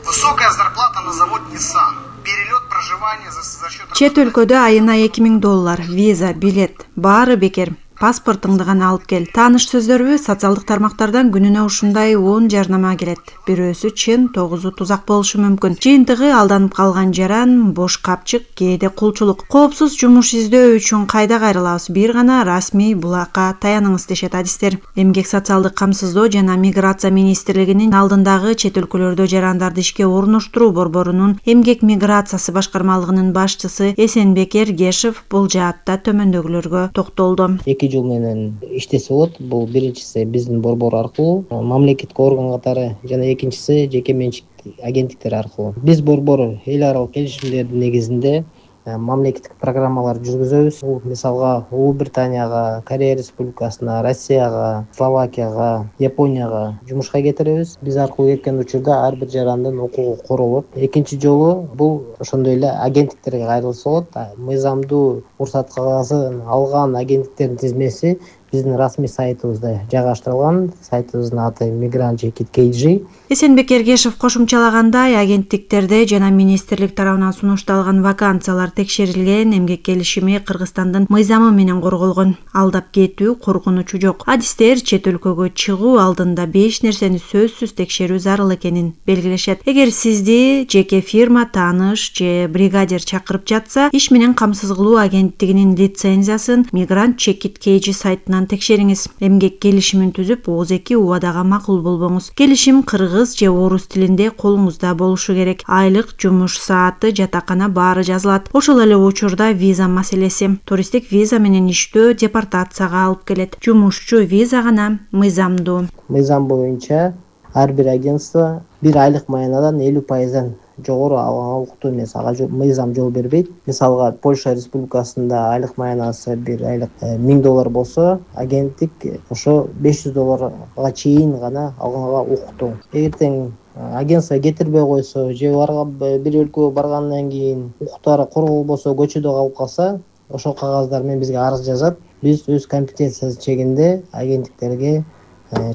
Speaker 17: Высокая зарплата на завод Nissan. Перелет проживания за счет...
Speaker 18: Чет өлкөдө айына эки миң доллар, виза, билет, баары бекер. Паспортуңду гана алып кел. Тааныш сөздөрбү социалдык тармактардан күнүнө ушундай он жарнама келет. Бирөөсү чын, тогузу тузак болушу мүмкүн. Жыйынтыгы алданып калган жаран, бош капчык, кээде кулчулук. Коопсуз жумуш издөө үчүн кайда кайрылабыз? Бир гана расмий булакка таяныңыз дешет адистер. Эмгек социалдык камсыздоо жана миграция министрлигинин алдындагы чет өлкөлөрдө жарандарды ишке орноштуруу борборунун эмгек миграциясы башкармалыгынын башчысы Эсенбек Эргешев бул жаатта төмөндөгүлөргө токтолду.
Speaker 19: Жыл менен иштесе болот. Бул биринчиси биздин борбор аркылуу, мамлекеттик орган катары, жана экинчиси жеке менчик агенттиктер аркылуу. Биз борбор эл аралык келишимдердин негизинде мамлекеттик программалар жүргүзөбүз. Бул мисалга Улуу Британияга, Корея Республикасына, Россияга, Словакияга, Японияга жумушка кетиребиз. Биз аркылуу кеткен учурда ар бир жарандын укугу королот. Экинчи жолу бул ошондой эле агенттиктерге кайрылса болот. Мыйзамдуу уруксат кагазын алган агенттиктердин тизмеси биздин расмий сайтыбызда жайгаштырылган. Сайтыбыздын аты Migrant Jacket кей джи.
Speaker 18: Эсенбек Эргешев кошумчалагандай, агенттиктерде жана министрлик тарабынан сунушталган вакансиялар текшерилген, эмгек келишими Кыргызстандын мыйзамы менен корголгон. Алдап кетүү коркунучу жок. Адистер чет өлкөгө чыгуу алдында беш нерсени сөзсүз текшерүү зарыл экенин белгилешет. Эгер сизди жеке фирма, тааныш же бригадир чакырып жатса, иш менен камсыз кылуу агенттигинин лицензиясын Migrant Jacket кей джи сайтынан текшериңиз. Эмгек келишимин түзүп, оз эки убадага макул болбоңуз. Келишим кыргыз же орус тилинде колуңузда болушу керек. Айлык, жумуш сааты, жатакана баары жазылат. Ошол эле учурда виза маселеси. Туристтик виза менен иштөө депортацияга алып келет. Жумушчу виза гана мыйзамдуу.
Speaker 19: Мыйзам боюнча ар бир агентство бир айлык маянадан элүү пайыздан жогору алган укуктуу эмес. Ага мыйзам жол бербейт. Мисалга Польша Республикасында айлык маянасы бир айлык миң доллар болсо, агенттик ошо беш жүз долларга чейин гана алганга укуктуу. Эгертең агентство кетирбей койсо же барга бир өлкөгө баргандан кийин укуктары корголбосо, көчөдө калып калса, ошол кагаздар менен бизге арыз жазат. Биз өз компетенциябыз чегинде агенттиктерге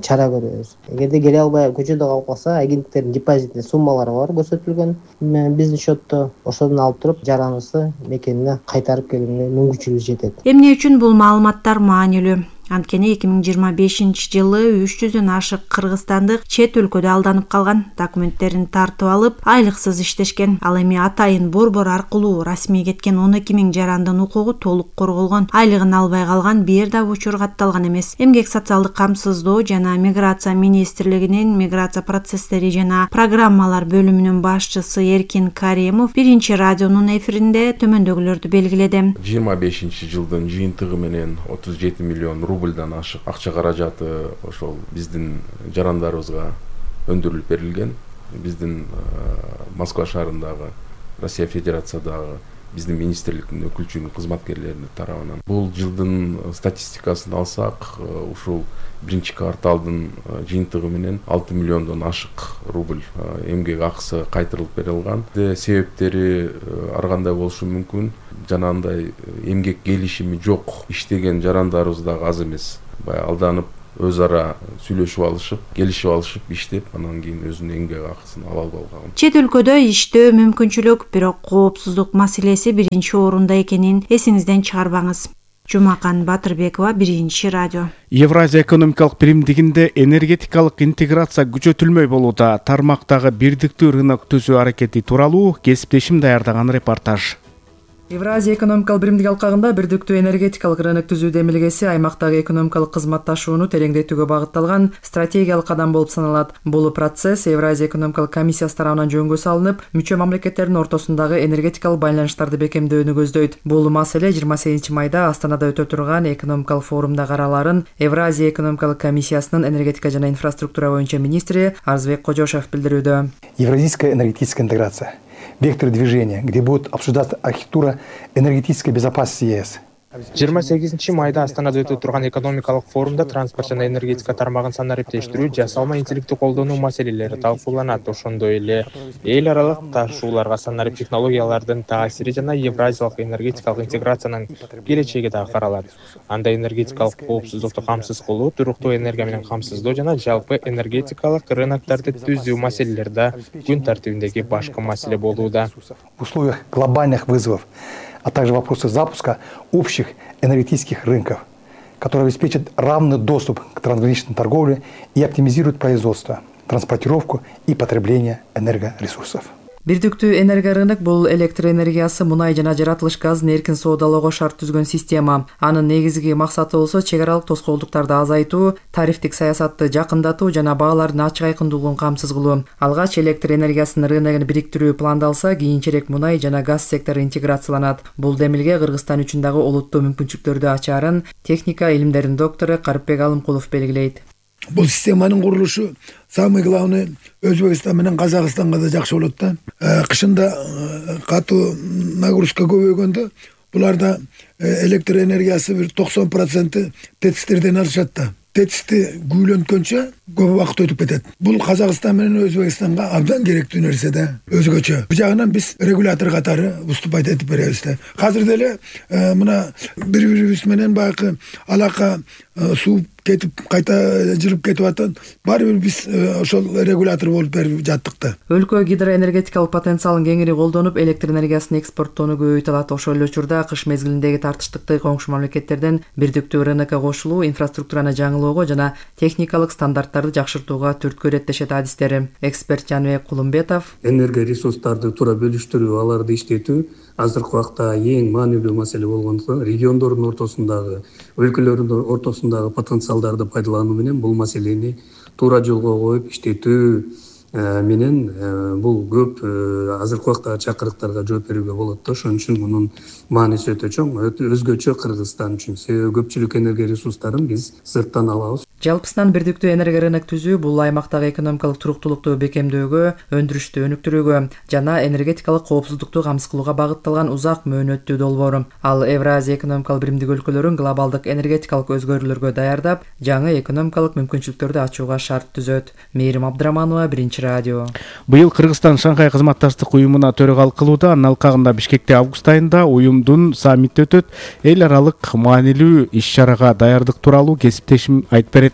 Speaker 19: чара көрөбүз. Эгерде келе албай көчөдө калып калса, агенттиктердин депозитинде суммалары бар көрсөтүлгөн биздин счетто. Ошодон алып туруп жараныбызды мекенине кайтарып келүүгө мүмкүнчүлүгү жетет.
Speaker 18: Эмне үчүн бул маалыматтар маанилүү? Анткени эки миң жыйырма бешинчи жылы үч жүздөн ашык кыргызстандык чет өлкөдө алданып калган, документтерин тартып алып, айлыксыз иштешкен. Ал эми атайын борбор аркылуу расмий кеткен он эки миң жарандын укугу толук корголгон. Айлыгын албай калган бир да учур катталган эмес. Эмгек социалдык камсыздоо жана миграция министрлигинин миграция процесстери жана программалар бөлүмүнүн башчысы Эркин Каримов биринчи радионун эфиринде төмөндөгүлөрдү белгиледи.
Speaker 20: жыйырма бешинчи жылдын жыйынтыгы менен отуз жети миллион рубль рубльдан ашык акча каражаты ошол биздин жарандарыбызга өндүрүлүп берилген. Биздин Москва шаарындагы Россия Федерациядагы биздин министрликтин өкүлчүлүк кызматкерлеринин тарабынан. Бул жылдын статистикасын алсак, ушул биринчи кварталдын жыйынтыгы менен алты миллиондон ашык рубль эмгек акысы кайтарылып берилган. Себептери ар кандай болушу мүмкүн. Жанагындай эмгек келишими жок иштеген жарандарыбыз дагы аз эмес. Баягы алданып өз ара сүйлөшүп алышып, келишип алышып иштеп, анан кийин өзүнүн эмгек акысын ала алган.
Speaker 18: Чет өлкөдө иштөө мүмкүнчүлүк, бирок коопсуздук маселеси биринчи орунда экенин эсиңизден чыгарбаңыз. Жумакан Батырбекова, Биринчи радио.
Speaker 1: Евразия экономикалык биримдигинде энергетикалык интеграция күчөтүлмөй болууда. Тармактагы бирдиктүү рынок түзүү аракети тууралуу кесиптешим даярдаган репортаж.
Speaker 21: Евразия экономикалык биримдиги алкагында бирдиктүү энергетикалык рынок түзүү демилгеси аймактагы экономикалык кызматташууну тереңдетүүгө багытталган стратегиялык кадам болуп саналат. Бул процесс Евразия экономикалык комиссиясы тарабынан жөнгө салынып, мүчө мамлекеттердин ортосундагы энергетикалык байланыштарды бекемдөөнү көздөйт. Бул маселе жыйырма сегизинчи майда Астанада өтө турган экономикалык форумда караларын Евразия экономикалык комиссиясынын энергетика жана инфраструктура боюнча министри Арзбек Кожошев билдирүүдө.
Speaker 22: Евразийская энергетическая интеграция. Вектор движения, где будет обсуждаться архитектура энергетической безопасности ЕС.
Speaker 23: жыйырма сегизинчи майда Астанада өтө турган экономикалык форумда транспорт жана энергетика тармагын санариптештирүү, жасалма интеллектти колдонуу маселелери талкууланат. Ошондой эле эл аралык ташууларга санарип технологиялардын таасири жана евразиялык энергетикалык интеграциянын келечеги дагы каралат. Анда энергетикалык коопсуздукту камсыз кылуу, туруктуу энергия менен камсыздоо жана жалпы энергетикалык рыноктарды түзүү маселелери да күн тартибиндеги башкы маселе болууда.
Speaker 22: В условиях глобальных вызовов, а также вопросы запуска общих энергетических рынков, которые обеспечат равный доступ к трансграничной торговле и оптимизируют производство, транспортировку и потребление энергоресурсов.
Speaker 21: Бирдиктүү энергия рынок бул электр энергиясы, мунай жана жаратылыш газын эркин соодалоого шарт түзгөн система. Анын негизги максаты болсо чек аралык тоскоолдуктарды азайтуу, тарифтик саясатты жакындатуу жана баалардын ачык айкындуулугун камсыз кылуу. Алгач электр энергиясынын рыногун бириктирүү пландалса, кийинчерээк мунай жана газ сектору интеграцияланат. Бул демилге Кыргызстан үчүн дагы олуттуу мүмкүнчүлүктөрдү ачаарын техника илимдеринин доктору Карипбек Алымкулов белгилейт.
Speaker 24: Бул системанын курулушу самый главный Өзбекстан менен Казакстанга да жакшы болот да. Кышында катуу нагрузка көбөйгөндө буларда электр энергиясы бир токсон проценти тетистерден алышат да. Тетисти күүлөнткөнчө көп убакыт өтүп кетет. Бул Казакстан менен Өзбекстанга абдан керектүү нерсе да, өзгөчө. Бул жагынан биз регулятор катары выступать этип беребиз да. Азыр деле мына бири-бирибиз менен баягы алака сууп кетип кайта жылып кетип атат. Баары бир биз ошол регулятор болуп берип жаттык да.
Speaker 21: Өлкө гидроэнергетикалык потенциалын кеңири колдонуп, электр энергиясын экспорттоону көбөйтө алат. Ошол эле учурда кыш мезгилиндеги тартыштыкты коңшу мамлекеттерден бирдиктүү рынокко кошулуу, инфраструктураны жаңылоого жана техникалык стандарттарды жакшыртууга түрткү иреттешет адистери. Эксперт Жаныбек Кулумбетов:
Speaker 25: энергия ресурстарды туура бөлүштүрүү, аларды иштетүү азыркы убакта эң маанилүү маселе болгондуктан региондордун ортосундагы, өлкөлөрдүн ортосундагы потенциалдарды пайдалануу менен бул маселени туура жолго коюп иштетүү менен бул көп азыркы убакта чакырыктарга жооп берүүгө болот да. Ошон үчүн мунун мааниси өтө чоң, өзгөчө Кыргызстан үчүн. Себеби көпчүлүк энергия ресурстарын биз сырттан алабыз.
Speaker 21: Жалпысынан бирдиктүү энергия рынок түзүү бул аймактагы экономикалык туруктуулукту бекемдөөгө, өндүрүштү өнүктүрүүгө жана энергетикалык коопсуздукту камсыз кылууга багытталган узак мөөнөттүү долбоор. Ал Евразия экономикалык биримдиги өлкөлөрүн глобалдык энергетикалык өзгөрүүлөргө даярдап, жаңы экономикалык мүмкүнчүлүктөрдү ачууга шарт түзөт. Мээрим Абдыраманова, Биринчи радио.
Speaker 1: Быйыл Кыргызстан Шанхай кызматташтык уюмуна төрөгалык кылууда. Анын алкагында Бишкекте август айында уюмдун саммити өтөт. Эл аралык маанилүү иш-чарага даярдык тууралуу кесиптешим айтып берет.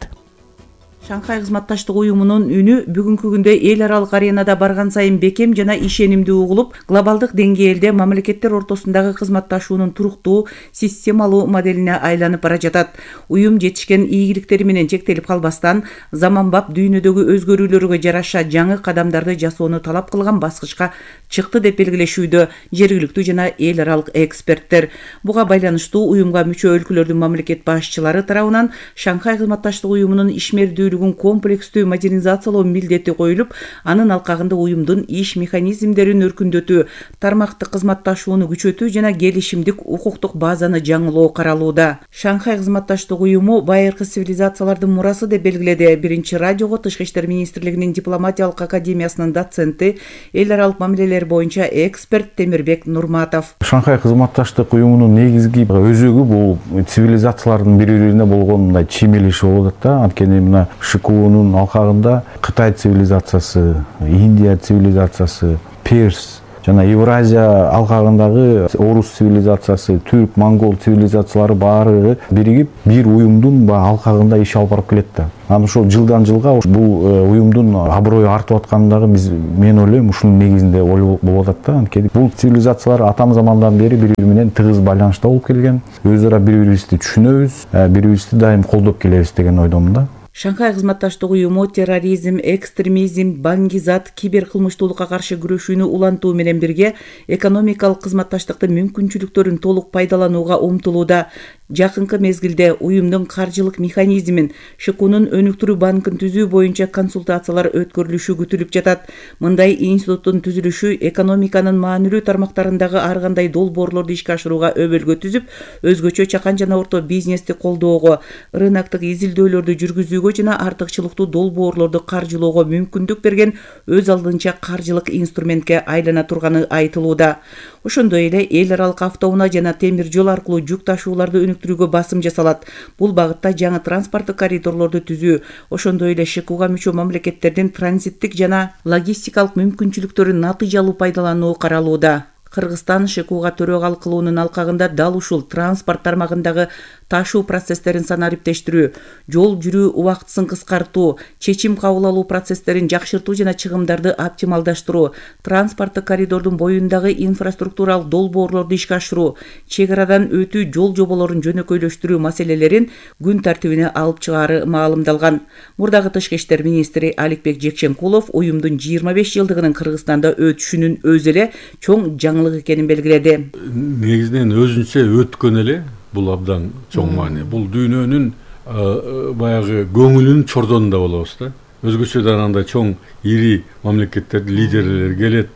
Speaker 26: Шанхай кызматташтык уюмунун үнү бүгүнкү күндө эл аралык аренада барган сайын бекем жана ишенимдүү угулуп, глобалдык деңгээлде мамлекеттер ортосундагы кызматташуунун туруктуу, системалуу моделине айланып бара жатат. Уюм жетишкен ийгиликтери менен чектелип калбастан, заманбап дүйнөдөгү өзгөрүүлөргө жараша жаңы кадамдарды жасоону талап кылган баскычка чыкты деп белгилешүүдө жергиликтүү жана эл аралык эксперттер. Буга байланыштуу уюмга мүчө өлкөлөрдүн мамлекет башчылары тарабынан Шанхай кызматташтык уюмунун ишмердүүлүгү өнүктүүлүгүн комплекстүү модернизациялоо милдети коюлуп, анын алкагында уюмдун иш механизмдерин өркүндөтүү, тармактык кызматташууну күчөтүү жана келишимдик укуктук базаны жаңылоо каралууда. Шанхай кызматташтык уюму байыркы цивилизациялардын мурасы деп белгиледи биринчи радиого Тышкы иштер министрлигинин дипломатиялык академиясынын доценти, эл аралык мамилелер боюнча эксперт Темирбек Нурматов.
Speaker 2: Шанхай кызматташтык уюмунун негизги өзөгү бул цивилизациялардын бири-бирине болгон мындай чиймелеши болуп атат да. Анткени мына ШКУнун алкагында Кытай цивилизациясы, Индия цивилизациясы, Перс жана Евразия алкагындагы орус цивилизациясы, түрк, монгол цивилизациялары баары биригип бир уюмдун алкагында иш алып барып келет да. Анан ошол жылдан жылга бул уюмдун аброю артып атканы дагы биз мен ойлойм ушунун негизинде болуп атат да. Анткени бул цивилизациялар атам замандан бери бири-бири менен тыгыз байланышта болуп келген. Өз ара бири-бирибизди түшүнөбүз, бири-бирибизди дайым колдоп келебиз деген ойдомун да.
Speaker 26: Шанхай кызматташтык уюму терроризм, экстремизм, баңгизат, киберкылмыштуулукка каршы күрөшүүнү улантуу менен бирге экономикалык кызматташтыктын мүмкүнчүлүктөрүн толук пайдаланууга умтулууда. Жакынкы мезгилде уюмдун каржылык механизмин, ШКУнун өнүктүрүү банкын түзүү боюнча консультациялар өткөрүлүшү күтүлүп жатат. Мындай институттун түзүлүшү экономиканын маанилүү тармактарындагы ар кандай долбоорлорду ишке ашырууга өбөлгө түзүп, өзгөчө чакан жана орто бизнести колдоого, рыноктук изилдөөлөрдү жүргүзүүгө жана артыкчылыктуу долбоорлорду каржылоого мүмкүндүк берген өз алдынча каржылык инструментке айлана турганы айтылууда. Ошондой эле эл аралык автоунаа жана темир жол аркылуу жүк ташууларды өнүктүрүүгө басым жасалат. Бул багытта жаңы транспорттук коридорлорду түзүү, ошондой эле ШКУга мүчө мамлекеттердин транзиттик жана логистикалык мүмкүнчүлүктөрүн натыйжалуу пайдалануу каралууда. Кыргызстан ШКУга төрөгалык кылуунун алкагында дал ушул транспорт тармагындагы ташуу процесстерин санариптештирүү, жол жүрүү убактысын кыскартуу, чечим кабыл алуу процесстерин жакшыртуу жана чыгымдарды оптималдаштыруу, транспорттук коридордун боюндагы инфраструктуралык долбоорлорду ишке ашыруу, чек арадан өтүү жол жоболорун жөнөкөйлөштүрүү маселелерин күн тартибине алып чыгаары маалымдалган. Мурдагы Тышкы иштер министри Аликбек Жекченкулов уюмдун жыйырма беш жылдыгынын Кыргызстанда өтүшүнүн өзү эле чоң жаңылык экенин белгиледи.
Speaker 3: Негизинен өзүнчө өткөн эле бул абдан чоң маани. Бул дүйнөнүн баягы көңүлүнүн чордонунда болобуз да. Өзгөчөдөн андай чоң ири мамлекеттердин лидерлери келет,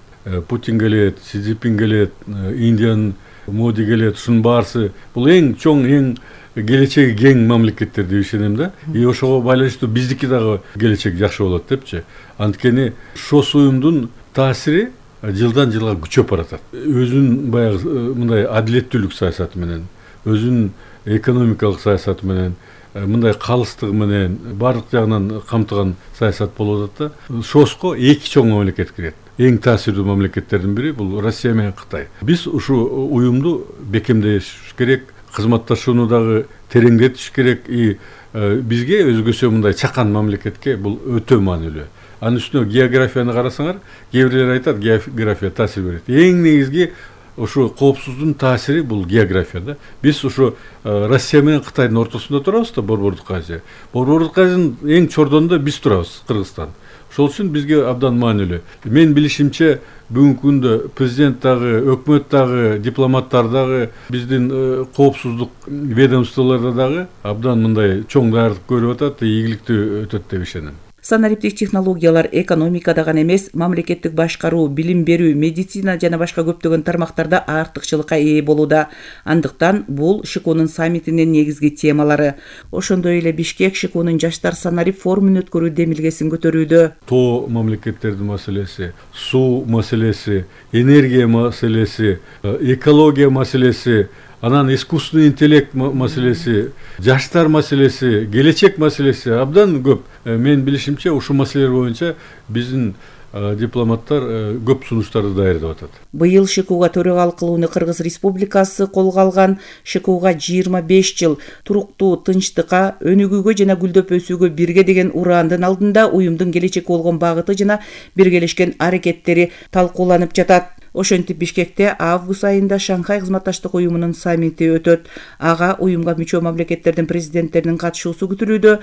Speaker 3: Путин келет, Си Цзиньпин келет, Индиянын Моди келет, ушунун баарысы бул эң чоң, эң келечеги кең мамлекеттер деп ишенем да. И ошого байланыштуу биздики дагы келечек жакшы болот депчи. Анткени ошол уюмдун таасири жылдан жылга күчөп баратат. Өзүнүн баягы мындай адилеттүүлүк саясаты менен, өзүнүн экономикалык саясаты менен, мындай калыстыгы менен баардык жагынан камтыган саясат болуп атат да. ШОСко эки чоң мамлекет кирет. Эң таасирдүү мамлекеттердин бири бул Россия менен Кытай. Биз ушу уюмду бекемдеш керек, кызматташууну дагы тереңдетиш керек. И бизге өзгөчө мындай чакан мамлекетке бул өтө маанилүү. Анын үстүнө географияны карасаңар, кээ бирлер айтат, география таасир берет. Эң негизги ушу коопсуздуктун таасири бул география да. Биз ушу Россия менен Кытайдын ортосунда турабыз да, Борбордук Азия. Борбордук Азиянын эң чордонунда биз турабыз, Кыргызстан. Ошол үчүн бизге абдан маанилүү. Мен билишимче бүгүнкү күндө президент дагы, өкмөт дагы, дипломаттар дагы, биздин коопсуздук ведомстволордо дагы абдан мындай чоң даярдык көрүп атат, ийгиликтүү өтөт деп ишенем.
Speaker 26: Санариптик технологиялар экономикада гана эмес, мамлекеттик башкаруу, билим берүү, медицина жана башка көптөгөн тармактарда артыкчылыкка ээ болууда. Андыктан бул ШКУнун саммитинин негизги темалары. Ошондой эле Бишкек ШКУнун жаштар санарип форумун өткөрүү демилгесин көтөрүүдө.
Speaker 3: Тоо мамлекеттердин маселеси, суу маселеси, энергия маселеси, экология маселеси, анан искусственный интеллект маселеси, жаштар маселеси, келечек маселеси абдан көп. Мен билишимче ушу маселелер боюнча биздин дипломаттар көп сунуштарды даярдап атат.
Speaker 26: Быйыл ШКУга төрагалык кылууну Кыргыз Республикасы колго алган. ШКУга жыйырма беш жыл туруктуу тынчтыкка, өнүгүүгө жана гүлдөп өсүүгө бирге деген ураандын алдында уюмдун келечекке болгон багыты жана биргелешкен аракеттери талкууланып жатат. Ошентип Бишкекте август айында Шанхай кызматташтык уюмунун саммити өтөт. Ага уюмга мүчө мамлекеттердин президенттеринин катышуусу күтүлүүдө.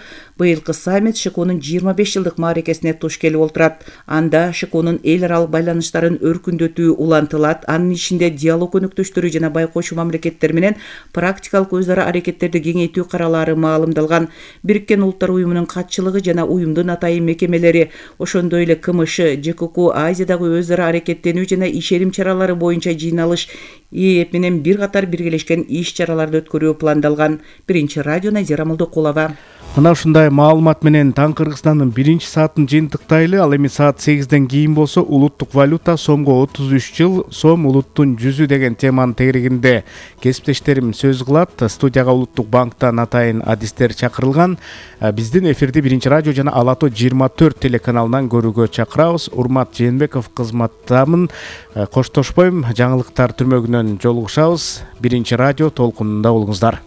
Speaker 26: Быйылкы саммит ШКУнун жыйырма беш жылдык мааракесине туш келип олтурат. Анда учурда ШКОнун эл аралык байланыштарын өркүндөтүү улантылат. Анын ичинде диалог өнөктөштөрү жана байкоочу мамлекеттер менен практикалык өз ара аракеттерди кеңейтүү каралары маалымдалган. Бириккен Улуттар уюмунун катчылыгы жана уюмдун атайын мекемелери, ошондой эле КМШ, ЖКК, Азиядагы өз ара аракеттенүү жана ишеним чаралары боюнча жыйналыш ИЭП менен бир катар биргелешкен иш чараларды өткөрүү пландалган. Биринчи радио Назира Молдокулова.
Speaker 1: Мына ушундай маалымат менен таң Кыргызстандын биринчи саатын жыйынтыктайлы. Ал эми саат сегизден кийин болсо улуттук валюта сомго отуз үч жыл, сом улуттун жүзү деген теманын тегерегинде кесиптештерим сөз кылат. Студияга Улуттук банктан атайын адистер чакырылган. Биздин эфирди биринчи радио жана Ала тоо жыйырма төрт телеканалынан көрүүгө чакырабыз. Урмат Жээнбеков кызматтамын. Коштошпойм, жаңылыктар түрмөгүнөн жолугушабыз. Биринчи радио толкунунда болуңуздар.